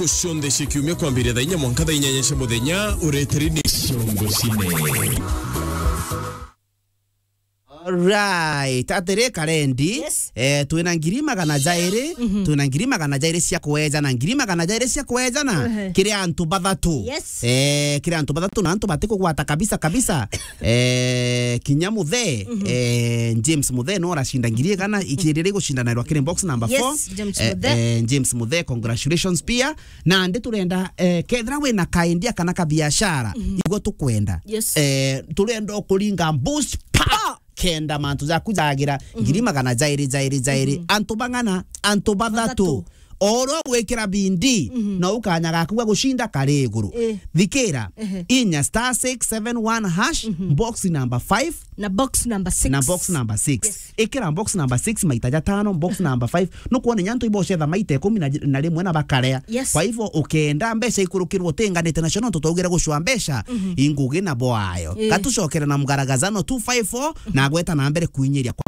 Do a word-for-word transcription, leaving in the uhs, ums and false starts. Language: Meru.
Cionthe cia kiumia kwambiria thaa inya mwanka thaa inyanya cia muthenya, ureteri ni Ciongo Cine. Alright, atiri Karendi. Yes. Eh, twina ngiri magana jairi, twina ngiri magana jairi cia kwejana, ngiri magana jairi cia kwejana, kiri antu bathatu. Yes. Eh, kiri antu bathatu na antu batikugwata kabisa kabisa. Eh, kinya Muthe, eh, James Muthe no aracinda ngiri igana, ikiriri gucindanirwa kiri box number four. Yes, James Muthe. Eh, James Muthe, congratulations pia. Nandi turenda, eh, kethira wina ka idea kana ka biashara, igwe tukwenda. Yes. Eh, turenda ukuringa boost pa kenda mantu jaku jagira ngiri magana jairi, jairi, jairi. Antu bang'ana, antu bathatu. Bathatu. Oro gwikira bindi, na ukanya gaku ga gucinda kari iguru. Eh. Thikira, inya star six seven one hash, box number five. Na box number six. Na box number six. Yes. Ikira box number six maita jatano, box number five. Nukwona nyantu ibocetha maita ikumi na rimwe na bakarea. Yes. Kwa hivyo, ukenda mbeca ikurukirwo utinganite nacio, nontu twaugire gucua mbeca, ingugi na bwayo. Eh. Gatucokere na mgaragazano two five four, na gweta na mbere kuinyiria kwa